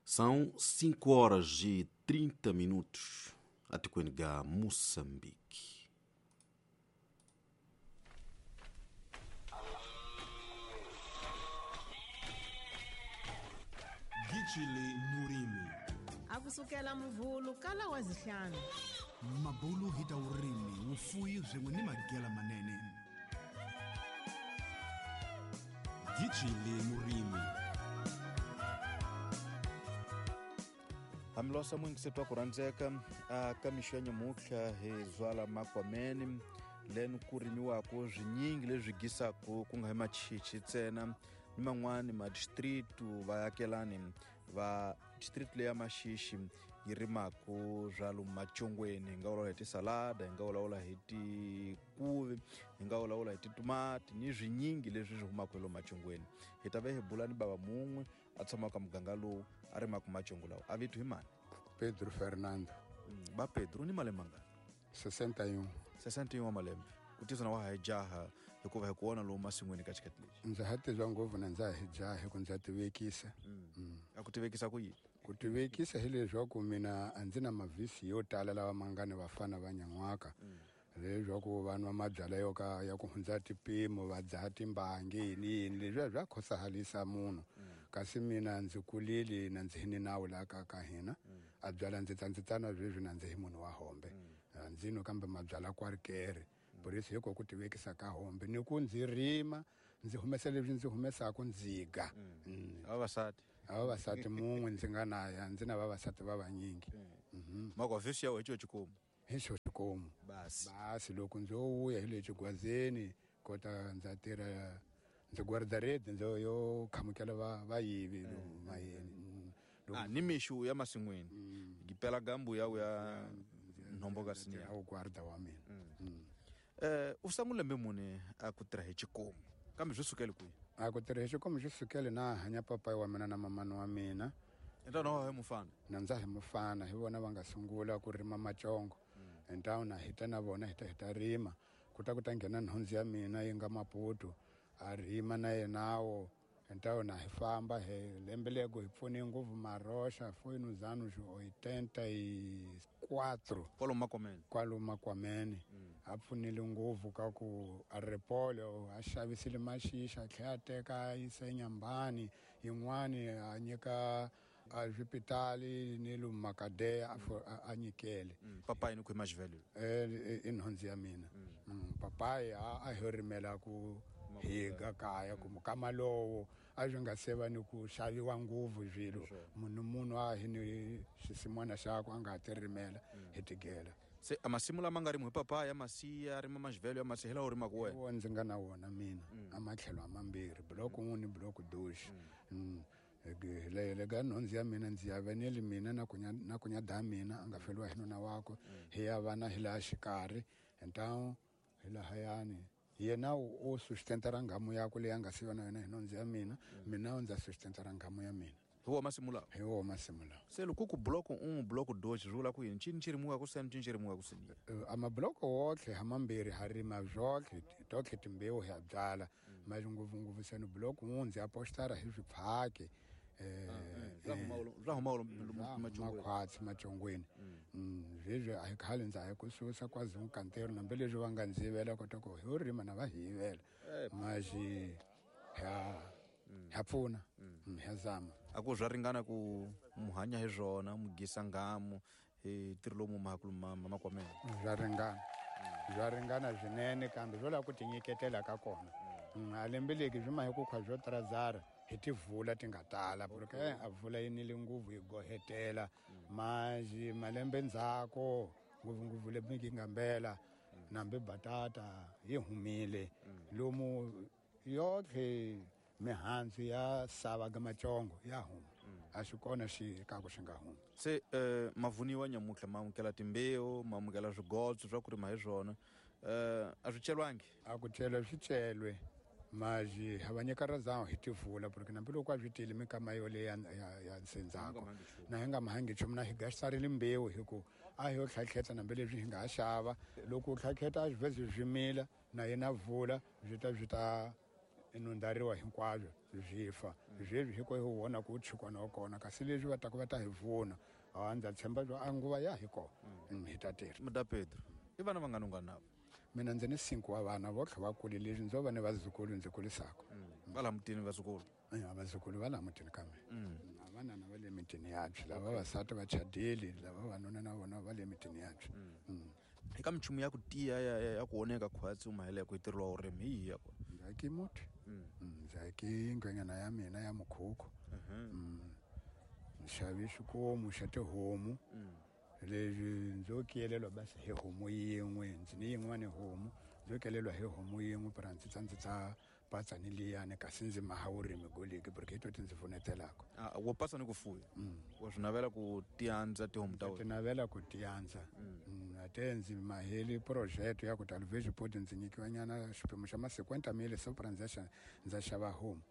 São 5 horas e 30 minutos atikweni ga Moçambique. Gijili Murimi. Akusukela muvhulu kala wa zihlanu. Mabulu hi ta vurimi, vufuwi swin'we ni magela manene. Gijili Murimi. Hambilosa mwingisetwa ku rhandzeka ka mixo ya nyamutlha hi zwala makwameni leni ku rimiwaka swinyingi leswi gisaku ku nga hi machichi ntsena ni man'wani madistritu vaakelani va district leya Maxixi yi rimaku swa lomu macongweni. Hi nga vulavula hi tisalada, hi nga vulavula hi tikuvi, hi nga vulavula hi titomati ni swinyingi leswi swi humaka hi lomu macongweni. Hi ta ve hi bula ni bava mun'we a tshamaka muganga lowu a rimaka macongo lawa. A vito hi mani? Pedro Fernando. Ba Pedro, ni malembe mangani? 61. 61 wa malembe. Ku tisa na wa ha jaha hikuva hi ku vona lomu masin'wini ka xikati lexi. Ndza ha tiva ngopfu na ndza ha jaha hi ku ndza tivekisa. A ku tivekisa ku yini? Ku tivekisa hileswaku mina a ndzi na mavhisi yo tala lawa ma nga ni vafana va nyan'waka. Leswaku va nwa mabyalwa yo ka ya ku hundza tipimo, va dzaha timbangi yini yini, leswiya swa khosahalisa munhu. Kasi mina ndzi kulile na ndzi hi ni nawu laha ka hina. A byala ndzi ta ndzi tana sweswi na ndzi hi munhu wa hombe. A ndzi nwi kambe mabyalwa kwarikere. Borisi hiko ku tivekisa ka hombe ni ku ndzi rima ndzi humesa leswi ndzi humesaka ndzi ga. Vavasati. A vavasati mun'we ndzi nga na ya ndzi na vavasati va vanyingi. Mako vhesi ya wecho chikomu. Hi xo xikomu. Basi. Basi loko ndzo vuya hi le xigwazeni kota ndza tirha ndzi guarda red ndzo yo khamukela vayivi lomu mayeni. Ni mixu ya masin'wini. Gipela gambu ya uya nhombo ka sinya. A guarda wa mina. U sungule lembe muni a ku tirha hi xikomu? Kambe swi sukele kwihi? A ku tirha hi xikomu swi sukele na hanya papayi wa mina na mamani wa mina. Ntwana wa hi mufana? Na ndza hi mufana, hi vona va nga sungula ku rima macongo. Ntwana hi ta na vona hi ta hi ta rima. Ku ta ku ta nghena nhundzu ya mina yi nga Maputo, a rima na yenawo. Ntwana hi famba hi lembe lego hi pfune ngopfu Maroxa, foi nos anos 84. Kwalomu Makwameni. Kwalomu Makwameni. A pfunile ngopfu ka ku a ripolo, a xavisile maxixa, a tlhela a teka a yisa eNyambani, yin'wani a nyika a swipitali ni lomu Makadeya a nyikele. Papayi ni khwema xivhele? I nhundzu ya mina. Papayi a hi rimela ku higa kaya ku mukama lowo a swi nga se va ni ku xaviwa ngopfu swilo. Munhu a hi ni xisin'wana xakwe a nga ha ti rimela hi tigela. Se a masimu lama nga rimiwa hi papaya, masiya, rima maxivhelo ya masiya, hi lawa u rimaka wena? Wo ndzi nga na wona mina. A matlhelo a mambirhi, block 1 ni block 2. Le ka nhundzu ya mina ndzi ya venele mina na kunya na kunya da mina a nga feriwa hi nuna wakwe. Hi ya vana hi laha xikarhi, ntawu hi lahayani. Yena o sustentara nghamu yakwe leyi a nga siva na yona hi nhundzu ya mina, mina ndza sustentara nghamu ya mina. Hi wona masimu lawa? Hi wona masimu lawa. Se loko ku block 1, block 2 swi vula ku yini? Ncini xi rimiwaka seni, ncini xi rimiwaka seni? A mabloko wotlhe ha mambirhi ha rima zwotlhe, totlhe timbewu hi ya byala. Mali ngopfungopfu seni block 1 ndzi apostara hi swipfhaki. Swa huma lomu makhwatsi macongweni. Sweswi a hi khale ndza hi ku susa kwazi nkantero nambe leswi va nga ndzi yivela kota ku hi rima na va hi yivela. Maxi ya pfuna, ya zama. A ku swa ringana ku muhanya hi swona, mugisa nghamu hi ntirho lowu muhakulu Makwameni? Swa ringana. Swa ringana swinene kambe swo lava ku tinyiketela ka kona. A lembeleki swi ma hi ku khwa swo trazara hi tivula ti nga tala, porque a vula yi nile nguvu yi gohetela. Maxi malembe ndzhaku ngopfungopfu lembe yi nga mbela nambe batata yi humile. Lomu yotlhe mihandzu ya sava ka macongo ya huma. A swi kona xi ka ku xi nga humi. Se mavuniwa nyamutlha ma amukela timbewu, ma amukela swigotso swa ku rima hi swona. A swi celwangi? A ku celwe swi celwe. Maxi ha va nyika razao hi tivula, porque nambi loko a swi tile minkama yoleyo ya nsendzako. Na hi nga mahangi nchumu, na hi gasarile mbewu hi ku a hi yo tlhatlheta nambi leswi hi nga ha xava. Loko u tlhatlheta a swi vhezi swi mila, na yena vula swi ta swi ta nundhariwa hinkwabyo swi fa. Sweswi hi ko hi vona ku chikwana wa kona, kasi leswi va taka va ta hi pfuna. A ndza tshemba byo a nguva ya hi kona hi ta tirha. Muda Pedro, i vana vangani u nga navo? Mina ndzi ni 5 wa vana, vo tlhe va kule leswi ndzo va ni vazukulu ndzi kulisaka. Va laha mutini vazukulu? Ya, vazukulu va laha mutini ka mina. Vanana va le mitini yabyo, lava vavasati va chadile, lava vavanuna na vona va le mitini yabyo. Eka minchumu ya ku tiya ya ku oneka khwatsi u mahele ku tirhiwa vurimi hi yihi ya kona? Ndzi aki muti. Ndzi aki nghwenyana ya mina ya mukhukhu. Ndzi xave xikomu xa tihomu. Leswi ndzo kiyelelwa basi hi homu yin'we, ndzi ni yin'wana homu, ndzo kelelwa hi homu yin'we pra ndzi tsa ndzi tsa patsa ni liyani, kasi ndzi maha vurimi goliki porque hi to ti ndzi pfunetelaka. Wo pasa ni ku fuya? Wa swi navela ku tiandza tihomu ta wena? Ti navela ku tiandza. A te ndzi maheli project ya ku ta Vegepod ndzi nyikiwa nyana xiphemu xa ma 50 mil, so pra ndza xava homu.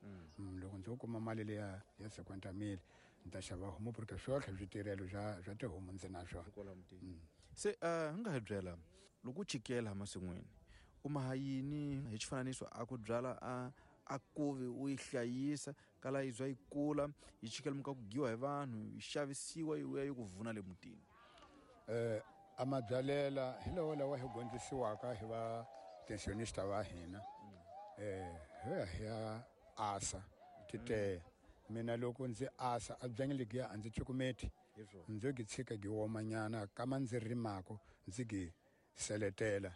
Loko ndzo kuma mali liya ya 50 mil, ndzi ta xava homu porque swotlhe switirhelo swa tihomu ndzi na swona. Kwala mutini. Se hi nga hi byela loko u chikela masin'wini u maha yini hi xifananiso a ku byala a kuvi u yi hlayisa kala yi zwa yi kula yi chikela muka ku giwa hi vanhu yi xavisiwa yi vuya yi ku vuna le mutini? A mabyalela hi lawa lawa hi dyondzisiwaka hi va pensionista va hina. Hi ya hi ya asa titeya. Mina loko ndzi asa a byanyi legiya a ndzi cukumeti, ndzo gi tshika gi womanyana kama ndzi rimako ndzi gi seletela.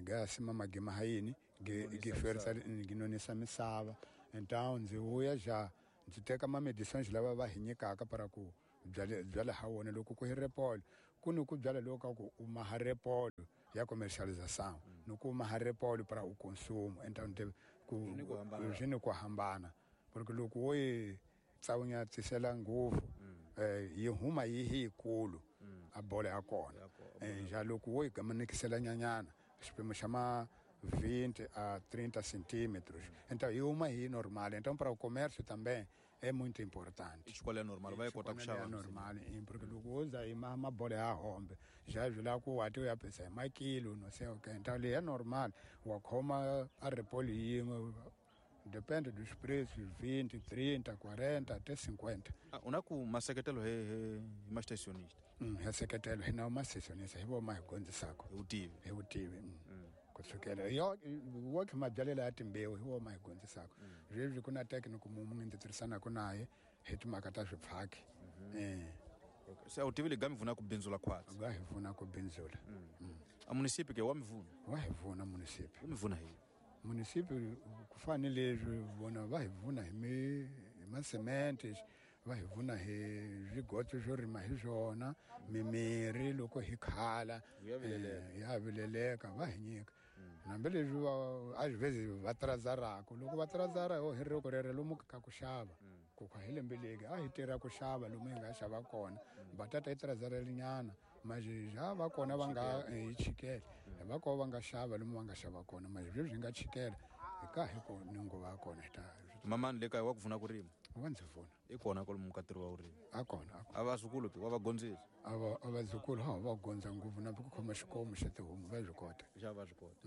Ga sima magima ha yini gi ferisa gi nonisa misava. Então ndzi vuya ja ndzi teka ma medicines lava va hi nyikaka para ku byala ha wona loko ku hi repolo. Ku ni ku byala loko ka ku u maha repolo ya commercialisation, ni ku maha repolo para u consumo. Então ndzi ku swi ni ku hambana. Porque loko wo yi tsawunya tisela ngopfu, yi huma yi hi yikulu a bola ya kona. Ja loko wo yi gamanikisela nyanyana xiphemu xa ma 20 a 30 centímetros, então yi huma hi normal. Então para o comércio também é muito importante. I xikolo ya normal va yi kota ku xava ya normal, porque loko wo za yi mabola ya hombe ja swi lava ku wa ti u ya pesa hi makilo no sei o quê. Então leyi ya normal wa khoma a repolo yin'we, depende dos preços, 20, 30, 40 até 50. U na ku maseketelo hi mastationista? Hi seketelo hi na mastationista, hi vo ma hi dyondzisaka. Hi vutivi. Hi vutivi. Ku sukela yo wo kha mabyalela ya timbewu hi wo ma hi dyondzisaka. Sweswi ku na technical munhu ndzi tirhisanaka naye hi timhaka ta swipfhaki. Se a wu tivi leyi ga mi pfuna ku bindzula khwatsi? Ga hi pfuna ku bindzula. A munisipi ke wa mi pfuna? Wa hi pfuna munisipi. Wu mi pfuna hi? Munisipi ku fana ni leswi vona va hi pfuna hi masemente, va hi pfuna hi swigotso swo rima hi swona, mimirhi loko hi khala, ya vileleka va hi nyika. Hambi leswi a swi vhezi va tirazaraka, loko va tirazara ho hi roko rero lomu ka ku xava, ku kha hi lembe leki a hi tirha ku xava lomu hi nga xava kona, batata yi tirazarelinyana, mazhi va kona va nga hi chikela, va kona va nga xava lomu va nga xava kona, mazhi sweswi hi nga chikela hi ka hi ko ni nguva ya kona hi ta. Mamani le kaya wa ku pfuna ku rima? Wa ndzi pfuna. I kona kwalomu ka ntirho wa vurimi? A kona, a kona. A vazukulu ke wa va gondzisa? A vazukulu ha va gondza ngopfu na ku khoma xikomu xa tihomu va swi kota. Xa va swi kota.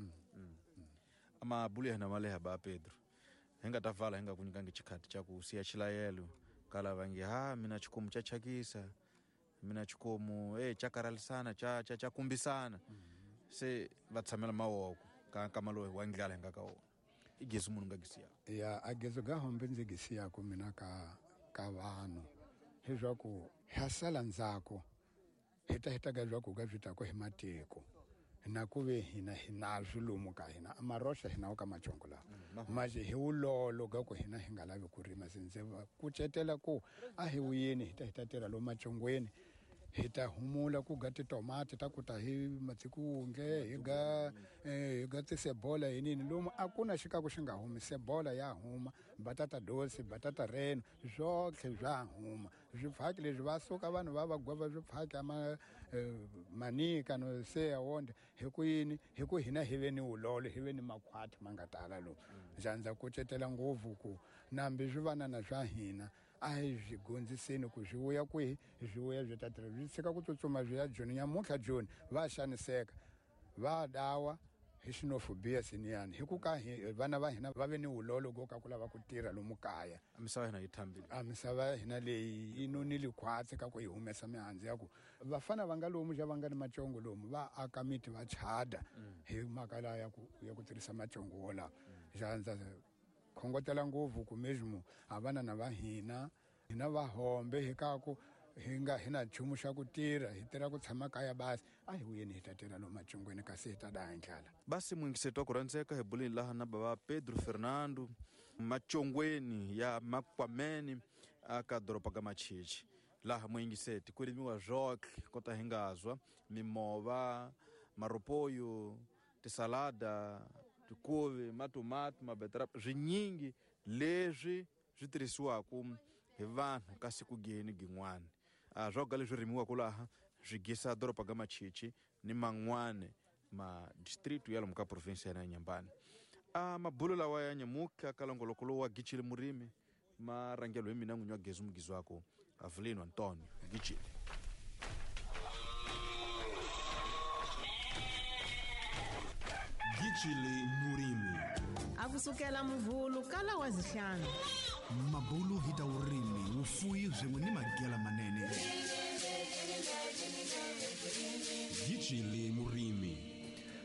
A mabulu ya hina ma leha ba Pedro. Hi nga ta vala hi nga ku nyikangi xikhati xa ku siya xilayelo ka lava nge ha mina xikomu xa thyakisa, mina xikomu xa karhalisana, xa kumbisana. Se va tshamela mavoko ka nkama lowu wa ndlala hi nga ka wona. I gezi munhu nga gezi ya? Ya, a gezi ga hombe ndzi gezi ya ku mina ka vanhu. Leswaku ha sala ndzhaku, hi ta heta ka leswaku ka swi ta ku hi matiko. Na ku ve hina hi na swilomu ka hina, a maroxa hina wa ka macongo lawa. Manje hi wulolo ka ku hina hi nga lavi ku rima, se ndzi va kucetela ku a hi wuyeni hi ta hi ta tirha lomu macongweni. Hi ta humula ku ga titomati ta ku ta hi matsikunge, hi ga tisebola hi nini lomu a ku na xikaku xi nga humi, sebola ya huma, batata dosi, batata reno, swotlhe swa huma. Swipfhaki leswi va suka vanhu va va gwava swipfhaki ama manika no se ya wonde hi ku yini, hi ku hina hi ve ni wulolo, hi ve ni makhwati ma nga tala lomu. Ndza kucetela ngopfu ku nambi swivanana swa hina a hi swi dyondziseni ku swi vuya kwihi, swi vuya swi ta tirha, swi tshika ku tsutsuma swi ya Joni. Nyamuntlha Joni va xaniseka, va dawa Hi xinofobia siniyani hi ku ka hi vana va hina va ve ni vulolo go ka ku lava ku tirha lomu kaya. A misava ya hina yi thambile. A misava ya hina leyi yi nonile khwatsi ka ku yi humesa mihandzu ya ku vafana va nga lomu xa va nga ni macongo lomu va aka miti va chada hi mhaka laha ya ku tirhisa macongo wolawo. Xa ndza khongotela ngopfu ku mesmo a vanana va hina hina va hombe hi ka ku hi nga hi na nchumu xa ku tirha, hi tirha ku tshama kaya basi, a hi vuyeni hi ta tirha lomu macongweni kasi hi ta daya hi ndlala. Basi muyingiseti wa ku rhandzeka, hi buleni laha na bava Pedro Fernando macongweni ya Makwameni aka doroba ka Machichi. Laha muyingiseti ku rimiwa zwotlhe kota hi nga zwa mimova, maropoyo, tisalada, tikuvi, matomati, mabetrap, swinyingi leswi swi tirhisiwaka hi vanhu ka siku geni gin'wana. A swoga leswi rimiwaka laha swi gisa doroba ka Machichi ni man'wana ma district ya lomu ka province ya Inhambane. A mabulo lawa ya nyamuka ka longoloko lowu wa Gitshile Murimi ma rhangelo hi mina n'winyi wa Gezi Mugizi wako Avelino Antonio Gitshile. Gitshile Murimi. A kusukela Muvhulu kala wa zihlanu. Mabulu hi ta vurimi, vufuwi swin'we ni magela manene. Gitshile Murimi.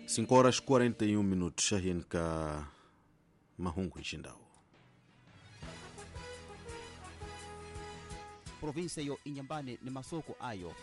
5 horas 41 minutos, xahini ka mahungu hi xindhawu. Província yo Inhambane ni masoko ayo.